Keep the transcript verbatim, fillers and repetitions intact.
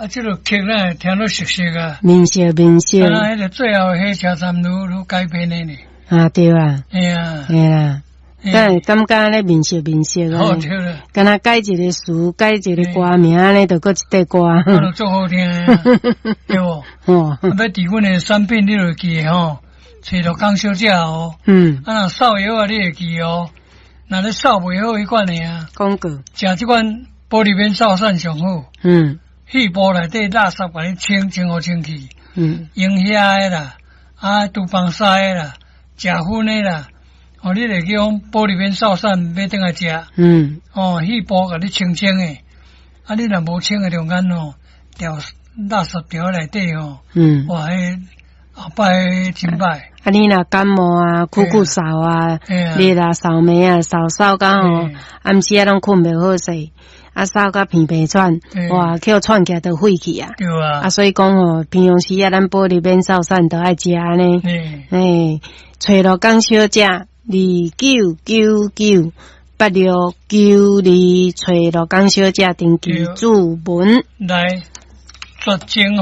啊，這个曲咱會聽得熟悉啊。面熟面熟。啊，彼个最後火車站愈愈改編的呢。啊，對啊。嘿啊。嘿啊。敢會感覺咧面熟面熟啊？對啦。敢若改一个詞，改一个歌名咧，就閣一塊歌。啊，就足好聽，對無？哦。啊，欲佇阮的產品你就會記得吼，揣鹿港小姐哦。嗯。啊，若掃藥仔你會記哦，若咧掃袂好彼款的啊。廣告。食這款保利免掃散上好。嗯。肺部內底垃圾共你清清好清氣。嗯。龍蝦的啦，啊，廚房屎的啦，食薰的啦。哦，你會記講保利免掃散買轉來食，嗯，哦，肺部共你清清的，啊，你若無清的中間哦，掉垃圾掉內底哦，嗯，哇，彼後擺真歹。啊，你若感冒啊，咳咳嗽啊，熱啊，嗽暝啊，嗽嗽甲吼，暗時啊攏睏袂好勢，啊，嗽甲鼻鼻喘，哇，予喘起來就火氣啊。對啊。啊，所以講吼，平常時啊，咱保利免掃散都愛食按呢。欸，揣鹿港小姐。二九九九八六九二，揣鹿港小姐登記注文來絕情雨。